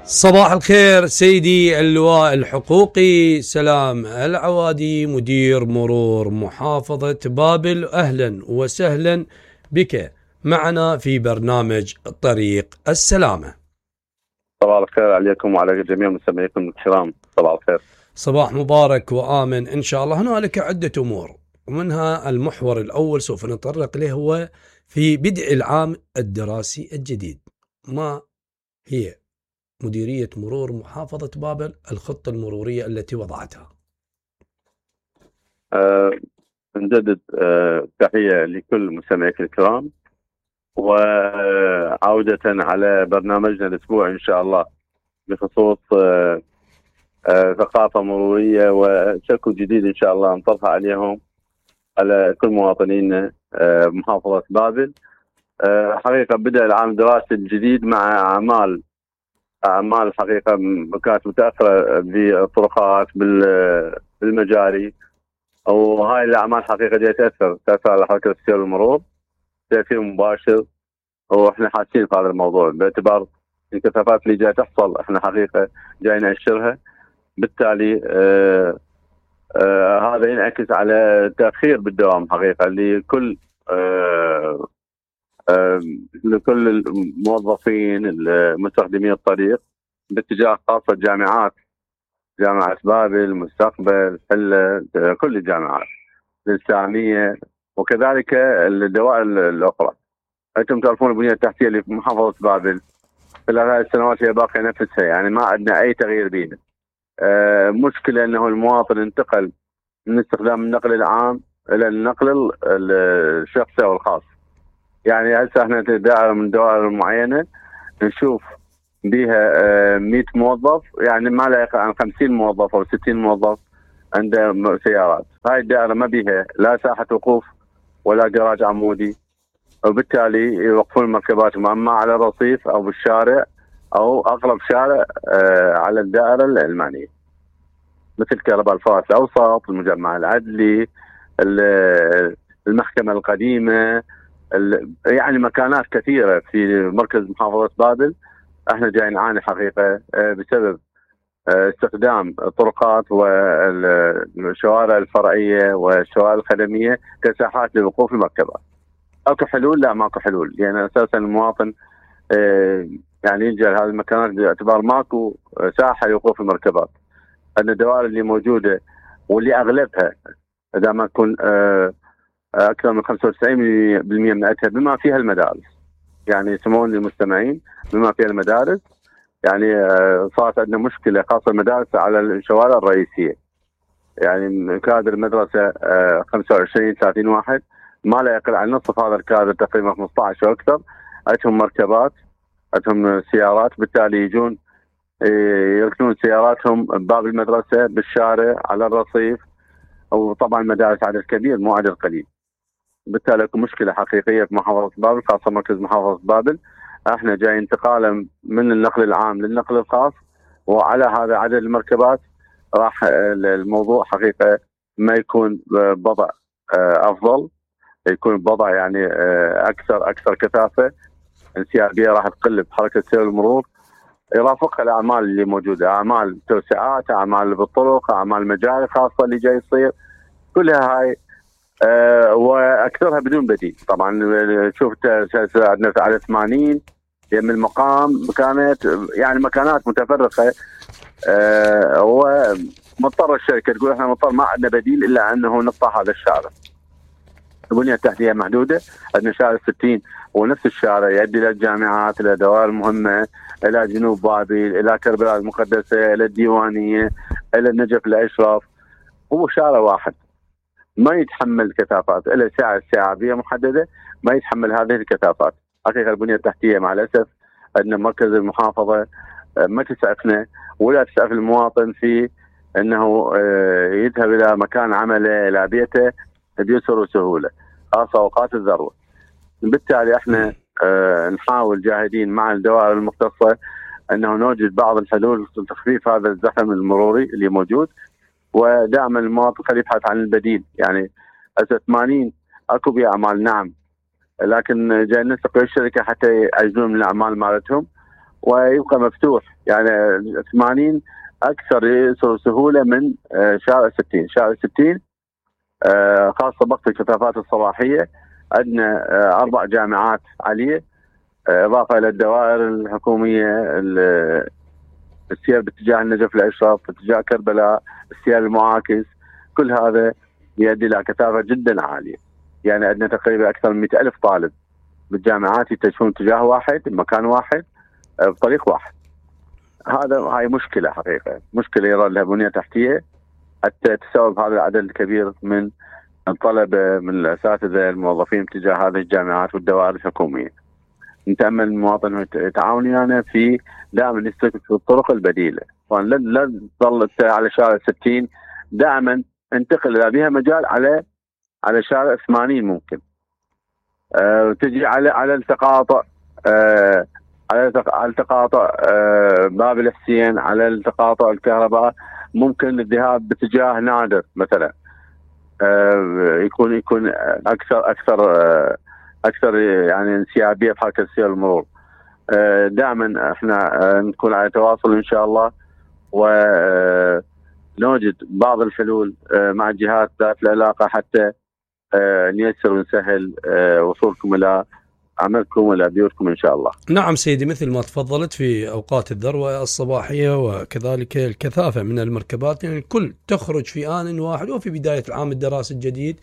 صباح الخير سيدي اللواء الحقوقي سلام العوادي مدير مرور محافظة بابل، أهلا وسهلا بك معنا في برنامج طريق السلامة. صباح الخير عليكم وعلى جميع مستمعيكم الكرام. صباح الخير. صباح مبارك وآمن إن شاء الله. هنالك عدة أمور، ومنها المحور الأول سوف نتطرق له هو في بدء العام الدراسي الجديد. ما هي مديرية مرور محافظة بابل الخطة المرورية التي وضعتها؟ نجدد تحية لكل مستمعيك الكرام، وعودة على برنامجنا الأسبوعي إن شاء الله بخصوص ثقافة مرورية وشكل جديد إن شاء الله نطرحه عليهم على كل مواطنين محافظة بابل. حقيقة بدأ العام الدراسي الجديد مع أعمال حقيقة كانت متأثرة بالطرقات بالمجاري، وهاي الأعمال حقيقة جاي تأثر على حركة السير والمرور تأثير مباشر، وإحنا حاسين في هذا الموضوع باعتبار الكثافات اللي جاي تحصل إحنا حقيقة جاي نأشرها. بالتالي هذا ينعكس على تأخير بالدوام حقيقة لكل الموظفين المستخدمين الطريق باتجاه خاصة الجامعات، جامعة بابل، مستقبل، حلة، كل الجامعات الإسلامية، وكذلك الدوائر الأخرى. أنتم تعرفون البنية التحتية اللي في محافظة بابل خلال هذه السنوات هي باقية نفسها، يعني ما عندنا أي تغيير بيها. مشكلة أنه المواطن انتقل من استخدام النقل العام إلى النقل الشخصي أو الخاص. يعني هسه احنا دائرة من دوائر معينة نشوف بها 100 موظف، يعني ما لا يقل عن 50 موظف أو 60 موظف عنده سيارات. هاي الدائرة ما بيها لا ساحة وقوف ولا جراج عمودي، وبالتالي يوقفون المركبات اما على الرصيف او بالشارع او اقرب شارع على الدائرة المعنية، مثل كهرباء الفرات الاوسط، المجمع العدلي، المحكمة القديمة، يعني مكانات كثيرة في مركز محافظة بابل. احنا جاي نعاني حقيقة بسبب استخدام الطرقات والشوارع الفرعية والشوارع الخدمية كساحات لوقوف المركبات. اكو حلول؟ لا ماكو حلول، يعني اساسا المواطن يعني يلجأ لهذه المكانات باعتبار ماكو ساحة لوقوف المركبات. ان الدوائر اللي موجودة واللي اغلبها اذا ما تكون اكثر من 95% منها بما فيها المدارس، يعني يسمون للمستمعين بما فيها المدارس، يعني صارت عندنا مشكلة خاصة المدارس على الشوارع الرئيسية، يعني كادر المدرسة 25-30 واحد، ما لا يقل عن نصف هذا الكادر تقريبا 15 واكثر عندهم مركبات، عندهم سيارات، بالتالي يجون يركنون سياراتهم بباب المدرسة، بالشارع، على الرصيف، وطبعا مدارس عدد كبير مو عدد قليل. بالتالي اكو مشكلة حقيقية في محافظة بابل، خاصة مركز محافظة بابل. احنا جاي انتقالا من النقل العام للنقل الخاص، وعلى هذا عدد المركبات راح الموضوع حقيقة ما يكون بوضع افضل، يكون بوضع يعني اكثر كثافة، انسيابية راح تقل بحركة سير المرور، يرافقها الاعمال اللي موجودة، اعمال توسعات، اعمال بالطرق، اعمال مجاري خاصة اللي جاي يصير، كلها هاي واكثرها بدون بديل. طبعا شفت عندنا على 80 يم المقام كانت يعني مكانات متفرقه، ومضطر الشركه تقول احنا مضطر ما عندنا بديل الا انه نقطع هذا الشارع. البنيه التحتيه محدوده، عندنا شارع 60 ونفس الشارع يؤدي الى الجامعات، الى دوائر مهمه، الى جنوب بابل، الى كربلاء المقدسه، الى الديوانيه، الى النجف الاشرف، هو شارع واحد ما يتحمل كثافات، إلى ساعة استيعابية محددة ما يتحمل هذه الكثافات. حقيقة البنية التحتية مع الأسف أن مركز المحافظة ما تسعفنا ولا تسعف المواطن في أنه يذهب إلى مكان عمله، إلى بيته بيسر وسهولة، خاصة أوقات الذروة. بالتالي احنا نحاول جاهدين مع الدوائر المختصة أنه نوجد بعض الحلول لتخفيف هذا الزحم المروري اللي موجود، ودائما المواطن خليه يبحث عن البديل. يعني 80 اكو باعمال نعم، لكن جاي ننسق الشركه حتى يعجزون من الاعمال مالتهم ويبقى مفتوح. يعني 80 اكثر سهوله من شارع 60. شارع 60 خاصه بقت الكثافات الصباحيه، عندنا 4 جامعات عليه، اضافه الى الدوائر الحكوميه، السير باتجاه النجف الاشرف، باتجاه كربلاء، السير المعاكس، كل هذا يؤدي الى كثافه جدا عاليه. يعني عندنا تقريبا اكثر من 100,000 طالب بالجامعات يتجهون اتجاه واحد، بمكان واحد، بطريق واحد. هاي مشكله حقيقه، مشكله يرى لها بنيه تحتيه حتى تستوعب هذا العدد الكبير من الطلبه، من الاساتذه الموظفين اتجاه هذه الجامعات والدوائر الحكوميه. نتامل المواطن يتعاون ويانا في دائما يستخدم الطرق البديله، لا تظل على شارع 60، دائما انتقل اذا بها مجال على شارع 80 ممكن. تجي على التقاطع، على التقاطع باب الحسين، على التقاطع الكهرباء، ممكن الذهاب باتجاه نادر مثلا، يكون اكثر يعني انسيابيه في حركه السير المرور. دائما احنا نكون على تواصل ان شاء الله، ونوجد بعض الحلول مع الجهات ذات العلاقه حتى نيسر ونسهل وصولكم الى عملكم والى بيوتكم ان شاء الله. نعم سيدي، مثل ما تفضلت في اوقات الذروه الصباحيه وكذلك الكثافه من المركبات، يعني الكل تخرج في آن واحد وفي بدايه العام الدراسي الجديد،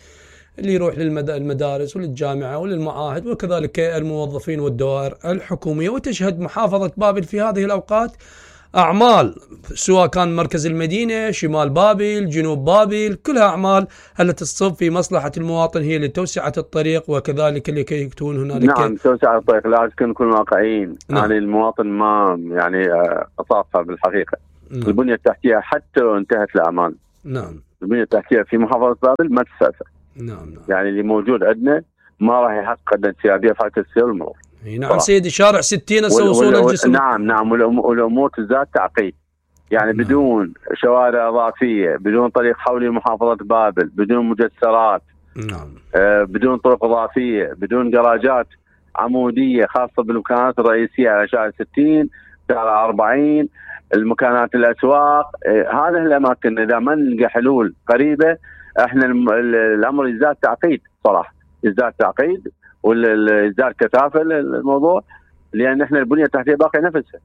اللي يروح للمدارس وللجامعه وللمعاهد، وكذلك الموظفين والدوائر الحكوميه. وتشهد محافظه بابل في هذه الاوقات أعمال، سواء كان مركز المدينة، شمال بابل، جنوب بابل، كلها أعمال التي تصب في مصلحة المواطن، هي لتوسعة الطريق وكذلك لكي يكون هنالك. نعم، توسعة الطريق، لازم نكون واقعيين. نعم. يعني المواطن ما يعني أصابها بالحقيقة. نعم. البنية التحتية حتى لو انتهت الأعمال، نعم، البنية التحتية في محافظة بابل ما تستأثر. نعم. يعني اللي موجود عندنا ما راح يحقق انسيابية في حركة السير والمرور. نعم سيدي، شارع 60 وصول الجسر. نعم، والأمور تزداد تعقيد. يعني نعم. بدون شوارع إضافية، بدون طريق حولي محافظة بابل، بدون مجسرات، نعم، بدون طرق إضافية، بدون جراجات عمودية خاصة بالمكانات الرئيسية على شارع 60، شارع 40، المكانات الأسواق، هذه الأماكن إذا ما نلقى حلول قريبة احنا الأمر يزداد تعقيد صراحة، يزداد تعقيد ويزداد كثافة الموضوع، لأن احنا البنية التحتية باقي نفسها.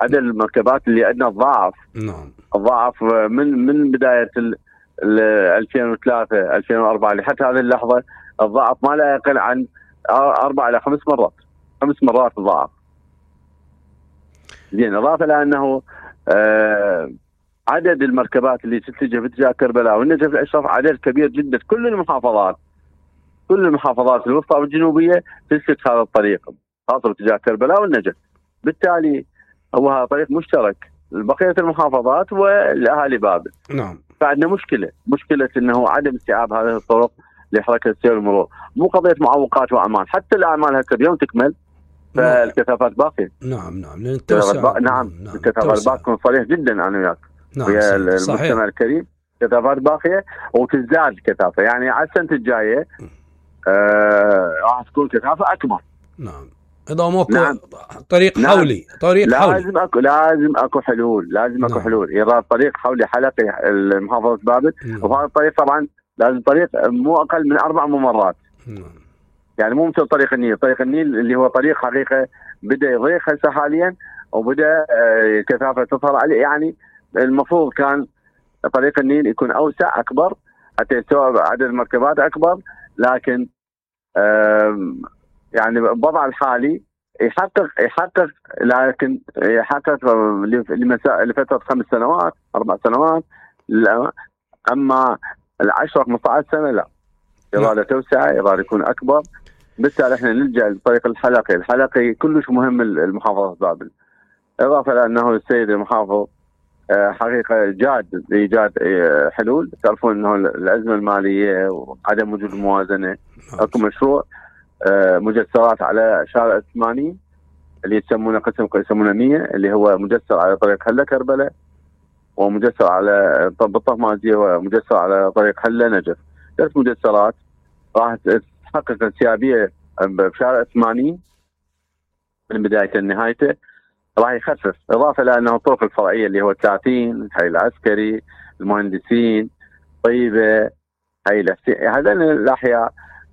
عدد المركبات اللي عندنا ضعف، نعم، ضعف من بداية 2003 2004 لحتى هذه اللحظة، الضعف ما لا يقل عن 4 إلى 5 مرات، 5 مرات ضعف. زين، إضافة لأنه عدد المركبات اللي تتجه باتجاه كربلاء والنجف الأشرف عدد كبير جدا. كل المحافظات الوسطى والجنوبية تسلك هذا الطريق خاصة باتجاه كربلاء والنجف، بالتالي هو طريق مشترك لبقية المحافظات والأهالي بابل. نعم. فعندنا مشكلة انه عدم استيعاب هذه الطرق لحركة السير والمرور، مو قضية معوقات واعمال، حتى الاعمال هسه اليوم تكمل فالكثافات باقية. نعم، لان التوسعة نعم الكثافات باقية، كن صريح جدا انا وياك. نعم، ويا المجتمع الكريم، كثافات باقية وتزداد الكثافة. يعني على السنة الجاية راح تكون كثافة اكبر. نعم، إذا ماكو نعم. طريق حولي، لازم اكو حلول، اكو حلول. يرى طريق حولي حلقي المحافظة بابل، وهذا الطريق طبعا لازم طريق مو اقل من 4 ممرات. يعني مو مثل طريق النيل. طريق النيل اللي هو طريق حقيقة بدا يضيق هسه حاليا، وبدا كثافة تظهر عليه. يعني المفروض كان طريق النيل يكون اوسع اكبر حتى يستوعب عدد المركبات اكبر، لكن يعني بالوضع الحالي يحقق لكن يحقق لفترة 5 سنوات 4 سنوات. اما 10 15 سنة لا، إرادة توسعة، إرادة يكون أكبر. بالتالي احنا نلجأ للطريق الحلقي كلش مهم المحافظة بابل. إضافة لأنه السيد المحافظ حقيقة جاد لإيجاد حلول. تعرفون أنه الأزمة المالية وعدم وجود الموازنة، أكو مشروع مجسرات على شارع 80 اللي يسمونه يسمونه 100، اللي هو مجسر على طريق حلة كربلاء، ومجسر على بالطهمازية، ومجسر على طريق حلة نجف. 3 مجسرات راح تحقق انسيابية بشارع 80 من بداية لنهايته. راح يخفف، اضافه الى انه الطرق الفرعيه اللي هو 30 الحي العسكري، المهندسين، طيبه، هذين الاحياء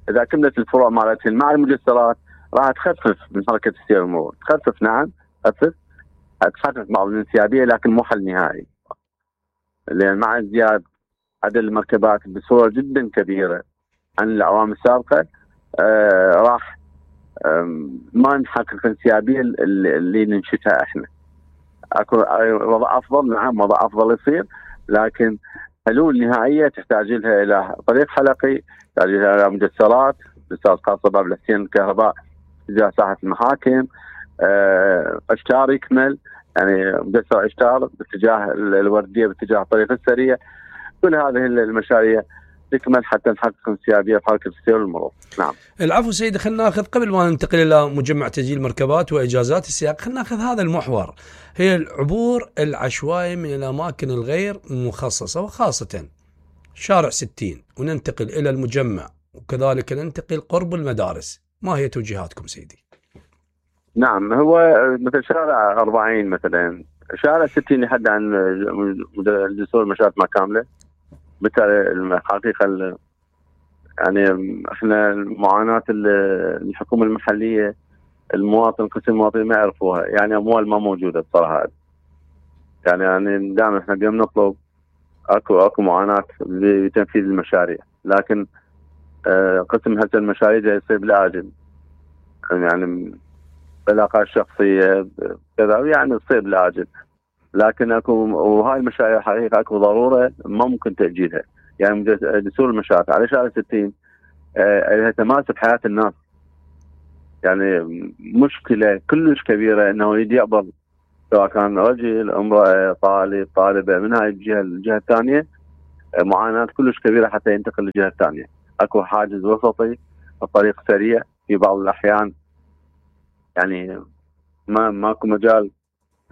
اذا كملت الفروع مالتهم مع المجسرات راح تخفف من حركه السير والمرور، تخفف نعم، تخفف بعض الانسيابيه لكن مو حل نهائي. لان مع ازدياد عدد المركبات بصوره جدا كبيره عن الاعوام السابقه راح ما نحقق الانسيابيه اللي ننشدها احنا. اكو وضع افضل، نعم وضع افضل يصير، لكن حلول نهائيه تحتاج لها الى طريق حلقي، تحتاج لها الى مجسرات خاصه باب الحسين الكهرباء تجاه ساحه المحاكم، اشتار يكمل، يعني مجسر اشتار باتجاه الورديه باتجاه الطريق السريع. كل هذه المشاريع تكمل حتى نحقق انسيابيه في حركه السير والمرور. نعم. العفو سيدي، خلينا ناخذ قبل ما ننتقل الى مجمع تسجيل المركبات واجازات السياق، خلينا ناخذ هذا المحور، هي العبور العشوائي من الاماكن الغير مخصصه وخاصه شارع 60، وننتقل الى المجمع وكذلك ننتقل قرب المدارس. ما هي توجيهاتكم سيدي؟ نعم، هو مثل شارع 40 مثلا، شارع 60 يحد عن جسور المشاة ما كامله. بالتالي الحقيقه يعني احنا المعاناه الحكومه المحليه المواطن، قسم المواطنين ما يعرفوها، يعني اموال ما موجوده بصراحه. يعني دائما احنا قاعدين نطلب اكو معاناه لتنفيذ المشاريع، لكن قسم هسه المشاريع جاي يصير بالاجل، يعني علاقات شخصيه كذا، يعني تصير بالاجل، لكن اكو وهاي المشاريع حقيقه اكو ضروره ما ممكن تاجيلها. يعني دستور المشاريع على شارع 60 لها تماس بحياه الناس، يعني مشكله كلش كبيره انه يجي يقبض سواء كان رجل، امراه، طالب، طالبه من هاي الجهه الثانيه، معاناه كلش كبيره حتى ينتقل للجهه الثانيه. اكو حاجز وسطي، الطريق سريع في بعض الاحيان، يعني ماكو مجال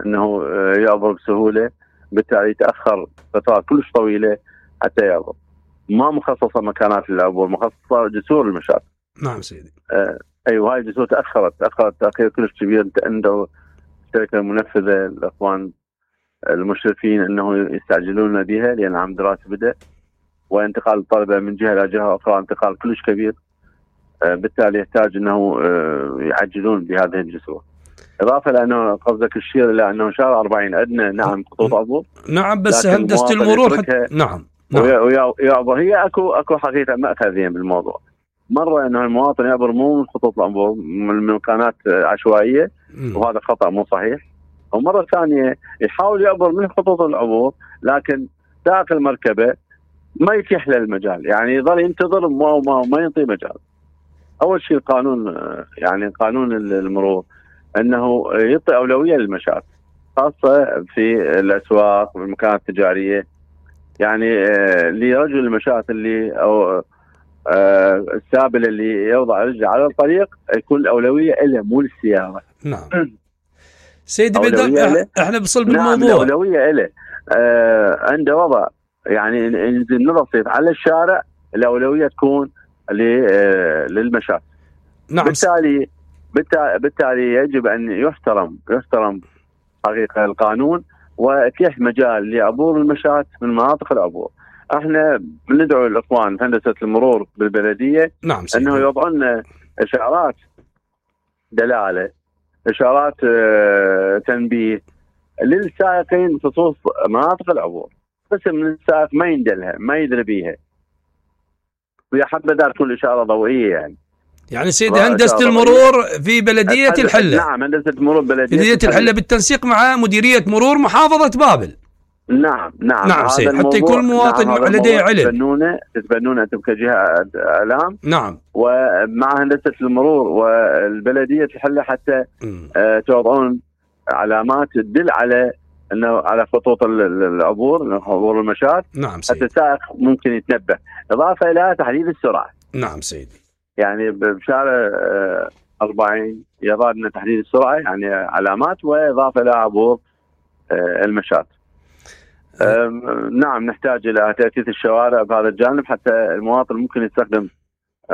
انه يعبر بسهوله، بالتالي يتاخر فترات كلش طويله حتى يعبر. ما مخصصه مكانات للعبور، مخصصه جسور المشاة. نعم سيدي. ايوه، هاي الجسور تاخرت تاخير كلش كبير. عنده الشركه المنفذه الاخوان المشرفين انه يستعجلون بها لان عام دراسي بدا، وانتقال الطلبه من جهه الى جهه اخرى انتقال كلش كبير، بالتالي يحتاج انه يعجلون بهذه الجسور. اضافه لانه قصدك الشير الى انه شارع 40 عندنا نعم خطوط عبور، نعم بس هندسه المرور نعم يعبر. هي اكو حقيقه ماخذين بالموضوع. مره انه المواطن يعبر مو من خطوط العبور، من مكانات عشوائيه، وهذا خطا مو صحيح. ومره ثانيه يحاول يعبر من خطوط العبور، لكن سائق المركبه ما يتيح له المجال، يعني يظل ينتظر ما ينطي مجال. اول شيء القانون، يعني قانون المرور انه يعطي اولويه للمشاة، خاصه في الاسواق والمكانات التجاريه. يعني لرجل المشاة اللي او السابل اللي يوضع رجله على الطريق يكون الاولويه له مو للسياره. نعم سيدي، بدأ احنا بصلب الموضوع. نعم، الاولويه له. عنده وضع يعني ينزل نرصف على الشارع، الاولويه تكون للمشاة. نعم. بالتالي يجب ان يحترم حقيقه القانون، ويتيح مجال لعبور المشاة من مناطق العبور. احنا بندعو الاخوان في هندسه المرور بالبلديه نعم انه يوضعوا لنا اشارات دلاله، اشارات تنبيه للسائقين بخصوص مناطق العبور. قسم من السائق ما يندلها، ما يدري بيها، ويا حبذا تكون اشاره ضوئيه. يعني سيدي هندسة المرور في بلدية الحلة. نعم، هندسة المرور بلدية الحلة بالتنسيق مع مديرية مرور محافظة بابل. نعم سيدي، حتى يكون المواطن لديه علم. تتبنونه انتم كجهة اعلام. نعم. ومع هندسة المرور والبلدية الحلة حتى توضعون علامات تدل على انه على خطوط العبور، عبور المشاة. نعم سيدي. حتى السائق ممكن يتنبه. اضافة الى تحديد السرعة. نعم سيدي. يعني بشارع 40 يضع لنا تحديد السرعه، يعني علامات، واضافه الى عبور المشاة. نعم، نحتاج الى تأسيس الشوارع بهذا الجانب حتى المواطن ممكن يستخدم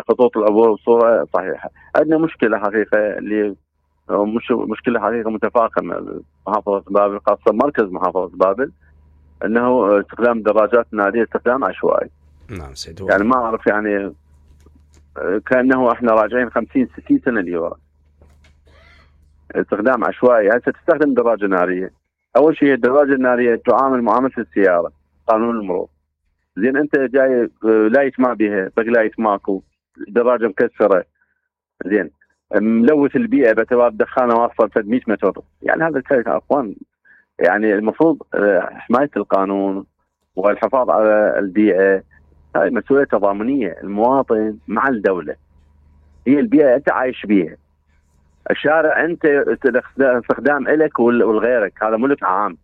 خطوط العبور بصوره صحيحه. عندنا مشكله حقيقه اللي مش مشكله حقيقه متفاقمه محافظه بابل، خاصه مركز محافظه بابل، انه استخدام الدراجات الناريه استخدام عشوائي. نعم سيد. يعني ما اعرف، يعني كانه احنا راجعين 50 60 سنه لورا. استخدام عشوائي. هسه تستخدم دراجه ناريه، اول شيء الدراجه الناريه تعامل معامله السياره، قانون المرور. زين انت جاي لايت ما بها، بقلايت ماكو، دراجه مكسره، زين ملوث البيئه باعتبار دخانه واصله 100 متر، يعني هذا الشيء يا اخوان. يعني المفروض حمايه القانون والحفاظ على البيئه هاي مسؤوليه تضامنيه، المواطن مع الدوله. هي البيئه انت عايش بيها، الشارع انت استخدام لك ولغيرك، هذا ملك عام.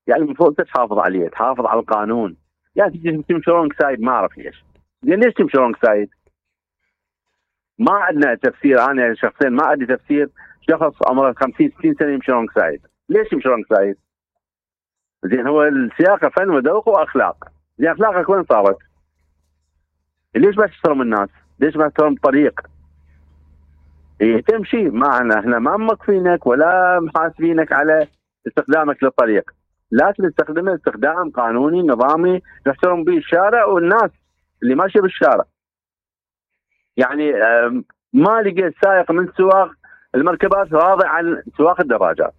يعني المفروض انت تحافظ عليه، تحافظ على القانون. يعني تمشي رونج سايد، ما اعرف ليش. زين ليش تمشي رونج سايد؟ ما عندنا تفسير. انا شخصيا ما عندي تفسير شخص عمره 50 60 سنه يمشي رونج سايد. ليش يمشي رونج سايد؟ زين هو السياقه فن وذوق واخلاق. زين اخلاقك وين صارت؟ ليش ما تحترم الناس؟ ليش ما تحترم الطريق؟ إيه تمشي معنا، احنا ما موقفينك ولا محاسبينك على استخدامك للطريق، لكن تستخدمه استخدام قانوني نظامي نحترم به الشارع والناس اللي ماشيه بالشارع. يعني ما لقيت سائق من سواق المركبات راضي عن سواق الدراجات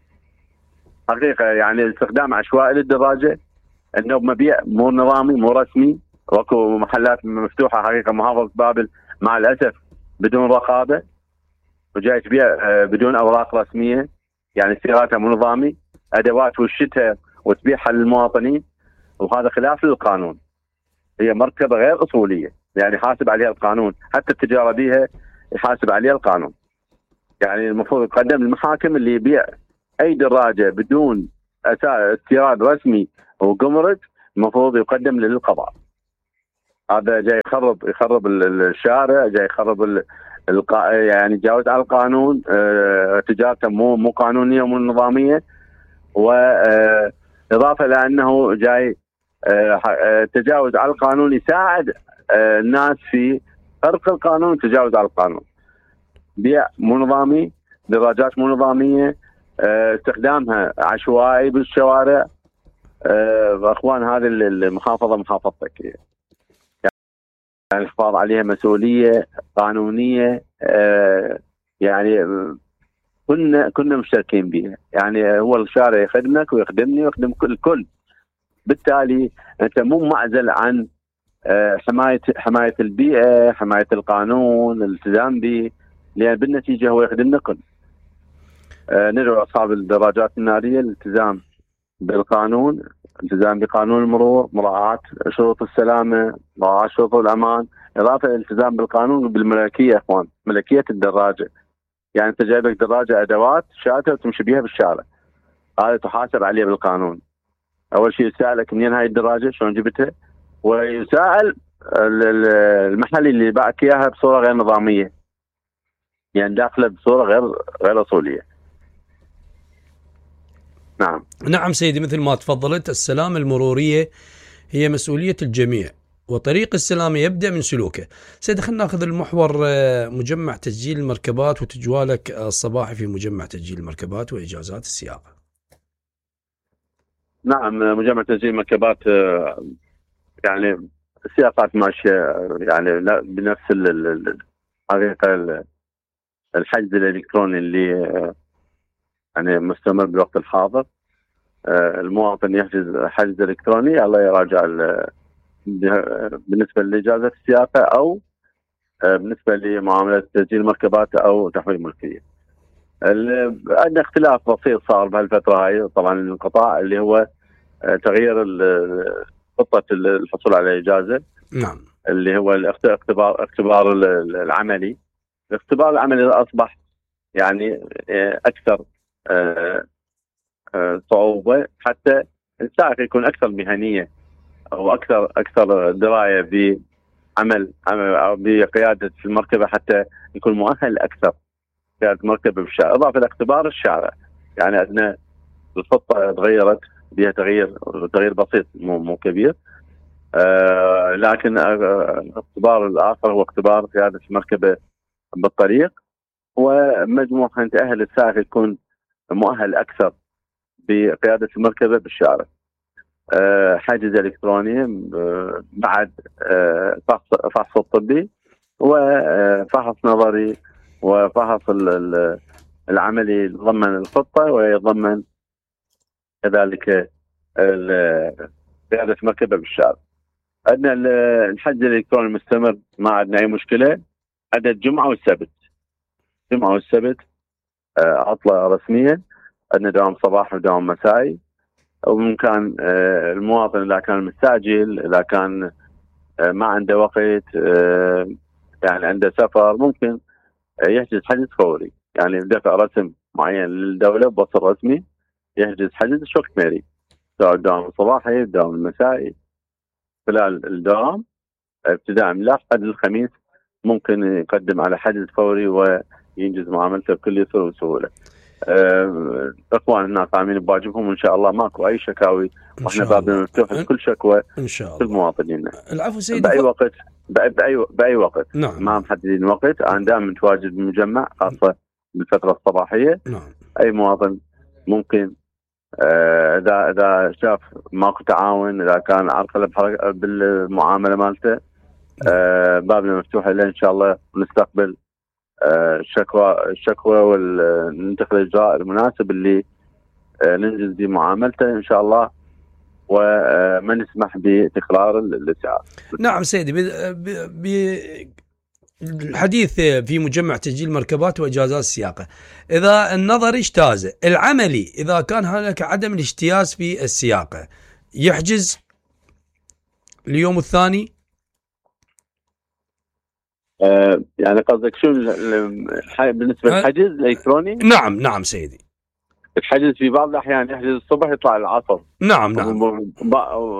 حقيقه. يعني استخدام عشوائي للدراجه، انه مبيع مو نظامي مو رسمي. واكو محلات مفتوحه حقيقه محافظه بابل مع الاسف بدون رقابه، وجاي تبيع بدون اوراق رسميه، يعني سياراتها مو نظامي، ادوات وشتها وتبيعها للمواطنين، وهذا خلاف للقانون. هي مركبه غير اصوليه، يعني يحاسب عليها القانون، حتى التجاره بها يحاسب عليها القانون. يعني المفروض يقدم للمحاكم اللي يبيع اي دراجه بدون استيراد رسمي وجمرك، المفروض يقدم للقضاء. هذا جاي يخرب الشارع، جاي يخرب يعني يتجاوز على القانون. تجارته مو قانونيه ومو نظاميه، واضافه لانه جاي تجاوز على القانون يساعد الناس في خرق القانون وتجاوز على القانون. بيع مو نظامي، دراجات مو نظاميه، استخدامها عشوائي بالشوارع. اخوان هذه المحافظه محافظتك، يعني الحفاظ عليها مسؤوليه قانونيه. يعني كنا مشتركين بها. يعني هو الشارع يخدمك ويخدمني ويخدم الكل. بالتالي انت مو معزل عن حمايه البيئه، حمايه القانون، الالتزام به، لان بالنتيجه هو يخدمنا كل. ندعو اصحاب الدراجات الناريه الالتزام بالقانون، الالتزام بقانون المرور، مراعاه شروط السلامه، مراعاه شروط الامان، اضافه الالتزام بالقانون وبالملكيه. اخوان ملكيه الدراجه، يعني انت جايب لك دراجه ادوات شاتة وتمشي بها بالشارع، هذا تحاسب عليه بالقانون. اول شيء يسالك منين هاي الدراجه، شلون جبتها، ويسال المحل اللي باعك اياها بصوره غير نظاميه، يعني داخله بصوره غير اصوليه. نعم سيدي، مثل ما تفضلت، السلامه المروريه هي مسؤوليه الجميع، وطريق السلامه يبدا من سلوكه. سيدي خلينا ناخذ المحور مجمع تسجيل المركبات وتجوالك الصباحي في مجمع تسجيل المركبات واجازات السياقه. نعم، مجمع تسجيل المركبات يعني السياقات ماشيه يعني بنفس الحقيقه. الحجز الالكتروني اللي يعني مستمر بالوقت الحاضر. المواطن يحجز حجز الكتروني، الله يراجع بالنسبه لاجازه السياقه او بالنسبه لمعامله تسجيل المركبات او تحويل الملكيه. عندنا اختلاف بسيط صار بهالفتره هاي طبعا الانقطاع، اللي هو تغيير خطه الحصول على الاجازه. نعم. اللي هو اختبار العملي. الاختبار العملي اصبح يعني اكثر صعوبه، حتى السائق يكون اكثر مهنيه او اكثر درايه بعمل او بقياده المركبه، حتى يكون مؤهل اكثر قياده مركبه بالشارع. اضافه الى اختبار الشارع، يعني عندنا الخطه تغيرت بها تغيير بسيط مو كبير. لكن الاختبار الاخر هو اختبار قياده المركبه بالطريق. ومجموعة تأهل السائق يكون مؤهل أكثر بقيادة المركبة بالشارع. حاجز إلكتروني بعد فحص الطبي وفحص نظري وفحص العملي يتضمن الخطة ويتضمن كذلك قيادة المركبة بالشارع. عندنا الحجز الإلكتروني المستمر، ما عندنا أي مشكلة. عندنا الجمعة والسبت عطلة رسمية، عندنا دوام صباح ودوام مسائي. وبإمكان المواطن إذا كان مستعجل، إذا كان ما عنده وقت، يعني عنده سفر، ممكن يحجز حجز فوري، يعني بدفع رسم معين للدولة بوصل رسمي يحجز حجز وقت ما يريد، سواء الدوام الصباحي الدوام المسائي. خلال الدوام ابتداء من الأحد للخميس ممكن يقدم على حجز فوري وينجز معاملته بكل يسر وسهولة. اخواننا قائمين بواجبهم وان شاء الله ماكو اي شكاوي، واحنا بابنا مفتوح لكل شكوى ان شاء الله كل مواطنينا. العفو سيدي، باي وقت باي وقت. نعم. ما محددين وقت، انا دائما متواجد بالمجمع خاصه بالفتره الصباحيه. نعم. اي مواطن ممكن اذا شاف ماكو تعاون، اذا كان عرقله بالمعامله مالته، بابنا مفتوح له ان شاء الله، ونستقبل الشكوى ونتخذ الاجراء المناسب اللي ننجز بمعاملته ان شاء الله، وما نسمح بتكرار الاسعاف. نعم سيدي، الحديث في مجمع تسجيل مركبات واجازات السياقه، اذا النظري اجتاز، العملي اذا كان هناك عدم الاجتياز في السياقه يحجز اليوم الثاني. يعني قصدك شو بالنسبه للحجز الالكتروني؟ نعم سيدي. الحجز في بعض الاحيان يحجز الصبح يطلع العصر. نعم.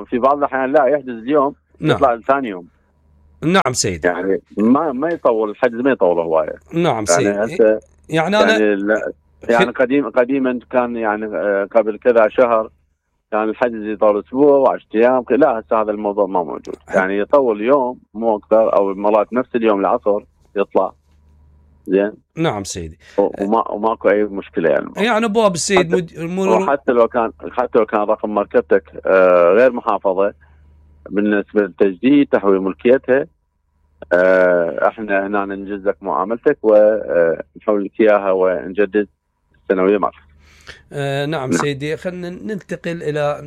في بعض الاحيان لا، يحجز اليوم يطلع ثاني يوم. نعم سيدي. يعني ما يطول الحجز، ما يطول هوايه. نعم سيدي. يعني انا يعني قديما كان يعني قبل كذا شهر كان الحجز يطول اسبوع و10 ايام. لا هسه هذا الموضوع ما موجود، يعني يطول يوم مو اكثر، او مرات نفس اليوم العصر يطلع. زين. نعم سيدي. وماكو اي مشكله يعني ابواب السيد حتى لو كان رقم مركبتك غير محافظه بالنسبه للتجديد تحويل ملكيتها، احنا هنا ننجز لك معاملتك ونحول لك اياها ونجدد السنويه معك. نعم سيدي، خلينا ننتقل الى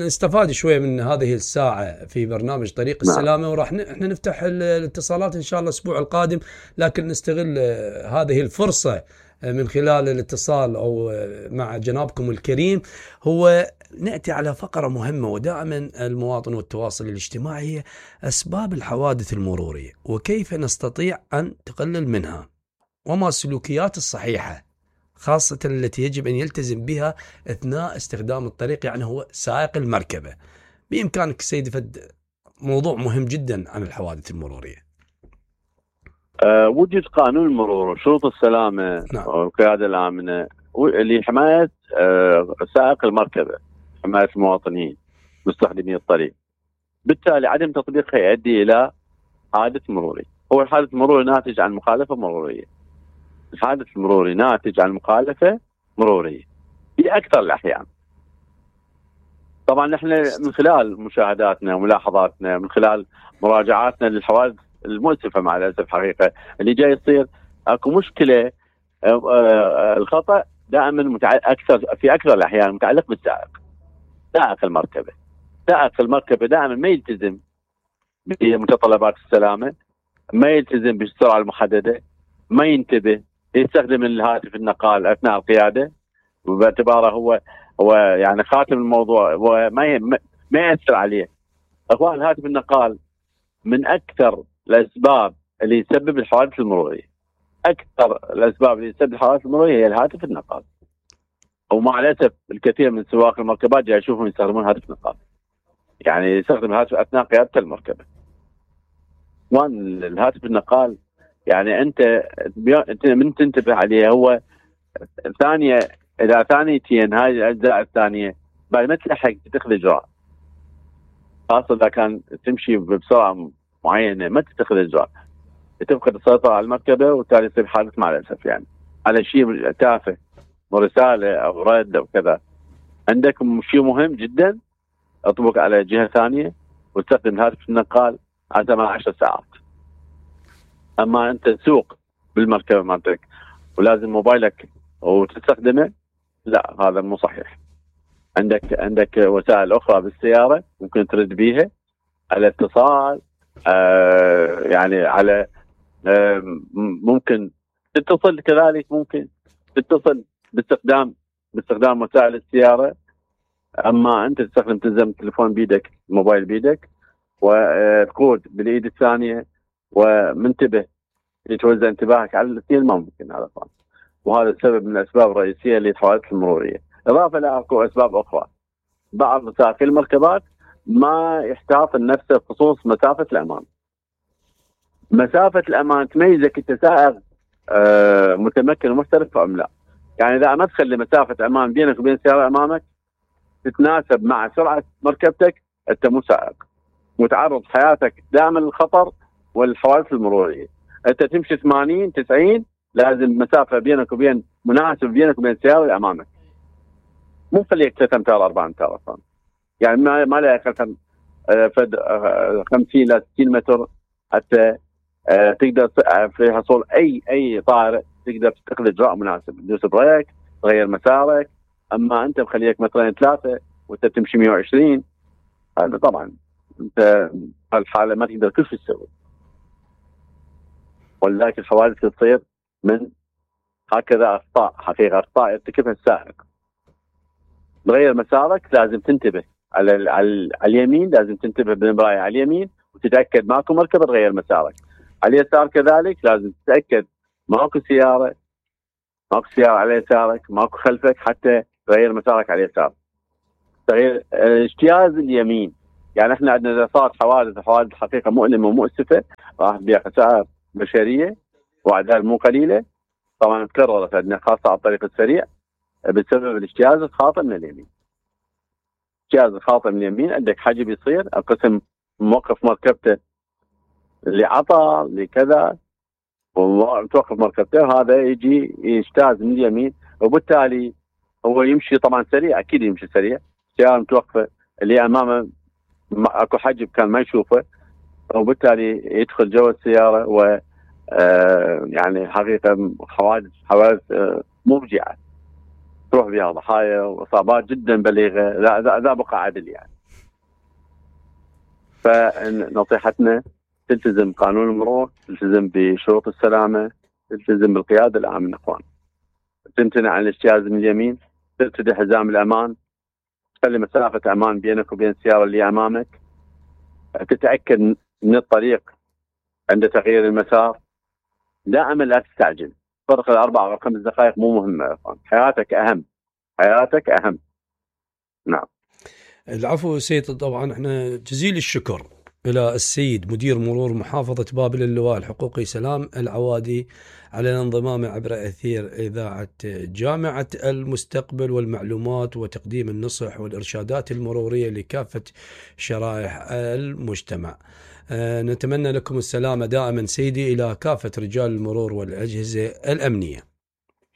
نستفاد شويه من هذه الساعه في برنامج طريق السلامه، وراح احنا نفتح الاتصالات ان شاء الله الاسبوع القادم، لكن نستغل هذه الفرصه من خلال الاتصال او مع جنابكم الكريم، هو ناتي على فقره مهمه، ودائما المواطن والتواصل الاجتماعي هي اسباب الحوادث المروريه وكيف نستطيع ان نقلل منها، وما السلوكيات الصحيحه خاصة التي يجب أن يلتزم بها أثناء استخدام الطريق، يعني هو سائق المركبة. بإمكانك سيدي فد موضوع مهم جدا عن الحوادث المرورية. وجد قانون المرور وشروط السلامة والقيادة الآمنة لحماية سائق المركبة، حماية المواطنين مستخدمي الطريق. بالتالي عدم تطبيقها يؤدي إلى حادث مروري. هو الحادث المروري ناتج عن مخالفة مرورية. الحادث المروري ناتج عن مخالفة مرورية في أكثر الأحيان. طبعا نحن من خلال مشاهداتنا وملاحظاتنا، من خلال مراجعاتنا للحوادث المؤسفة مع الأسف حقيقة اللي جاي يصير، اكو مشكلة. الخطأ دائما في أكثر الأحيان متعلق بالسائق، سائق المركبة. سائق المركبة دائما ما يلتزم بمتطلبات السلامة، ما يلتزم بالسرعة المحددة، ما ينتبه، يستخدم الهاتف النقال اثناء القياده، وباعتباره هو يعني خاتم الموضوع وما ياثر عليه. اخوان، الهاتف النقال من اكثر الاسباب اللي يسبب الحوادث المروريه. اكثر الاسباب اللي تسبب الحوادث المروريه هي الهاتف النقال. ومع الاسف الكثير من سواق المركبات جاي يشوفهم يستخدمون هاتف نقال، يعني يستخدم الهاتف اثناء قياده المركبه. الهاتف النقال يعني انت من تنتبه عليه هو ثانيه، اذا ثانيتين هاي الاجزاء الثانيه بعد ما تلحق تتخذ اجراء، خاصه اذا كان تمشي بسرعه معينه ما تتخذ اجراء. تفقد السيطرة على المركبة وبالتالي يصير حادث مع الأسف يعني على شيء تافه ورسالة أو رد أو كذا. عندك شيء مهم جدا اطبق على جهة ثانية واستخدم هاتف النقال على 10 ساعات. أما أنت تسوق بالمركبة مالتك ولازم موبايلك وتستخدمه، لا هذا مو صحيح. عندك وسائل أخرى بالسيارة ممكن ترد بيها على اتصال، يعني على ممكن تتصل كذلك، ممكن تتصل باستخدام وسائل السيارة. أما أنت تلزم التليفون بيدك، الموبايل بيدك، وتقود بالإيد الثانية ومنتبه يتوزع انتباهك على الاثنين، ما ممكن هذا طبعا. وهذا السبب من الأسباب الرئيسية للحوادث المرورية. إضافة لأكو أسباب أخرى، بعض سائقي المركبات ما يحتاط لنفسه بخصوص مسافة الأمان. مسافة الأمان تميزك أنت سائق متمكن ومحترف أم لا. يعني إذا ما تخلي مسافة أمان بينك وبين السيارة أمامك تتناسب مع سرعة مركبتك، أنت مو سائق، متعرض حياتك دائما للخطر والحوادث المرورية. أنت تمشي 80 90 لازم مسافة بينك وبين مناسب بينك وبين السيارة اللي أمامك، مو خليك 3 أمتار 4 أمتار أصلا. يعني ما لا يقل 50 ل 60 متر حتى تقدر في حصول أي طارئ تقدر تتخذ إجراء مناسب، تدوس بريك، تغير مسارك. أما أنت مخليك مترين 3 وأنت تمشي 120، هذا طبعا أنت هالحالة ما تقدر كل شيء تسوي. ولذلك الحوادث تصير من هكذا أخطاء، حقيقة أخطاء يرتكبها السائق. تغير مسارك لازم تنتبه على اليمين، لازم تنتبه بالمراية على اليمين وتتأكد ماكو مركبة تغير مسارك. على اليسار كذلك لازم تتأكد ماكو سيارة على يسارك، ماكو خلفك حتى تغير مسارك على اليسار. تغيير اجتياز اليمين، يعني احنا عندنا اذا صارت حوادث حقيقة مؤلمة ومؤسفة راح بها خسائر بشرية واعداد مو قليلة. طبعا تكررت عندنا خاصة على الطريق السريع بسبب الاجتياز الخاطئ من اليمين. اجتياز الخاطئ من اليمين عندك حجب يصير، القسم موقف مركبته اللي عطى اللي كذا وتوقف مركبته، هذا يجي يجتاز من اليمين وبالتالي هو يمشي طبعا سريع، اكيد يمشي سريع، السيارة متوقفة اللي امامه اكو حجب كان ما يشوفه، وبالتالي يدخل جوا السيارة و يعني حقيقة حوادث مفجعة تروح بها ضحايا واصابات جدا بليغة لا بقى عدل يعني. فنصيحتنا تلتزم قانون المرور، تلتزم بشروط السلامة، تلتزم بالقيادة العامة اخوان، تمتنع عن الاجتياز من اليمين، ترتدي حزام الامان، تخلي مسافة امان بينك وبين السيارة اللي امامك، تتأكد من الطريق عند تغيير المسار، دائما لا تستعجل. فرق 4 أو 5 دقائق مو مهمة، حياتك أهم، حياتك أهم. نعم. العفو سيد. طبعا احنا جزيل الشكر إلى السيد مدير مرور محافظة بابل اللواء الحقوقي سلام العوادي على الانضمام عبر أثير إذاعة جامعة المستقبل والمعلومات وتقديم النصح والإرشادات المرورية لكافة شرائح المجتمع. نتمنى لكم السلامة دائما سيدي إلى كافة رجال المرور والأجهزة الأمنية.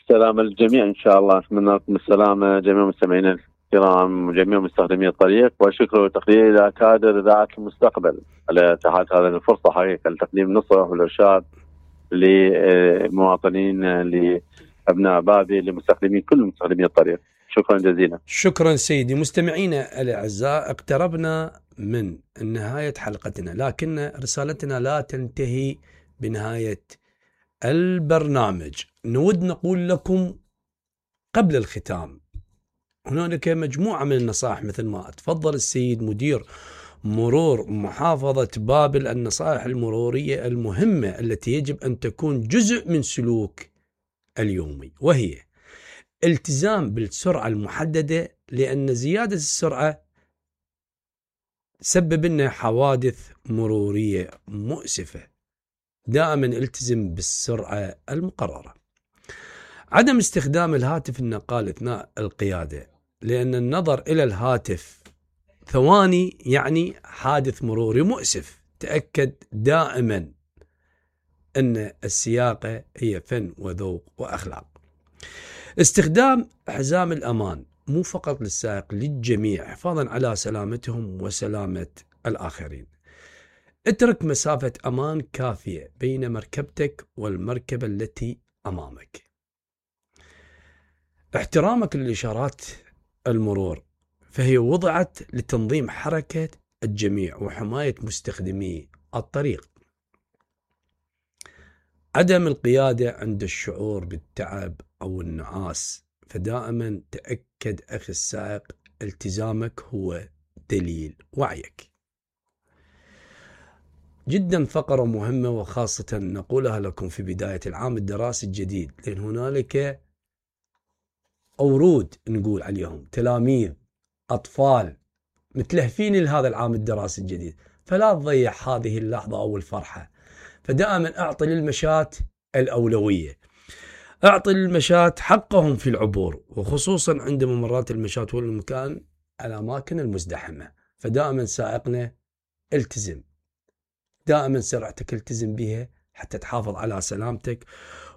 سلام للجميع إن شاء الله. أتمنى لكم السلامة جميع مستمعينا الكرام وجميع مستخدمي الطريق، والشكر والتقدير إلى كادر إذاعة المستقبل على إتاحة هذه الفرصة حقيقة لتقديم النصح والإرشاد لمواطنين لأبناء بابل لمستخدمين كل مستخدمي الطريق. شكرا جزيلا. شكرا سيدي. مستمعينا الأعزاء، اقتربنا من نهاية حلقتنا، لكن رسالتنا لا تنتهي بنهاية البرنامج. نود نقول لكم قبل الختام هنالك مجموعة من النصائح مثل ما تفضل السيد مدير مرور محافظة بابل، النصائح المرورية المهمة التي يجب أن تكون جزء من سلوك اليومي، وهي التزام بالسرعة المحددة، لأن زيادة السرعة تسبب لنا حوادث مرورية مؤسفة. دائما التزم بالسرعة المقررة. عدم استخدام الهاتف النقال أثناء القيادة، لأن النظر إلى الهاتف ثواني يعني حادث مروري مؤسف. تأكد دائما أن السياقة هي فن وذوق وأخلاق. استخدام حزام الأمان مو فقط للسائق، للجميع، حفاظا على سلامتهم وسلامة الآخرين. اترك مسافة أمان كافية بين مركبتك والمركبة التي أمامك. احترامك للإشارات المرور، فهي وضعت لتنظيم حركة الجميع وحماية مستخدمي الطريق. عدم القيادة عند الشعور بالتعب أو النعاس، فدائما تأكد أخي السائق التزامك هو دليل وعيك. جدا فقرة مهمة، وخاصة نقولها لكم في بداية العام الدراسي الجديد، لأن هنالك أورود نقول عليهم تلاميذ أطفال متلهفين لهذا العام الدراسي الجديد، فلا تضيع هذه اللحظة أو الفرحة. فدائما أعطي للمشاة الأولوية، أعطي للمشاة حقهم في العبور، وخصوصا عند ممرات المشاة والمكان الأماكن المزدحمة. فدائما سائقنا التزم، دائما سرعتك التزم بها حتى تحافظ على سلامتك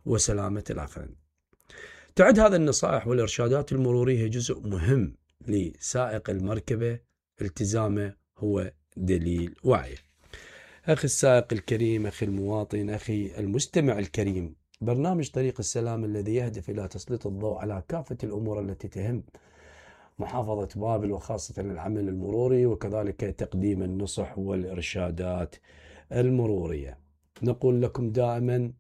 وسلامة الآخرين. تعد هذه النصائح والإرشادات المرورية جزء مهم لسائق المركبة، التزامه هو دليل وعيه. أخي السائق الكريم، أخي المواطن، أخي المستمع الكريم، برنامج طريق السلام الذي يهدف إلى تسليط الضوء على كافة الأمور التي تهم محافظة بابل، وخاصة العمل المروري، وكذلك تقديم النصح والإرشادات المرورية. نقول لكم دائما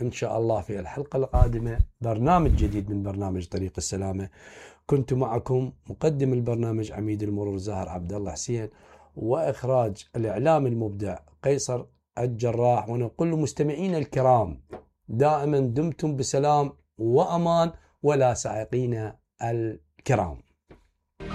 إن شاء الله في الحلقة القادمة برنامج جديد من برنامج طريق السلامة. كنت معكم مقدم البرنامج عميد المرور زاهر عبد الله حسين، وإخراج الإعلام المبدع قيصر الجراح. ونقول لمستمعينا الكرام دائما دمتم بسلام وأمان، ولا سائقين الكرام.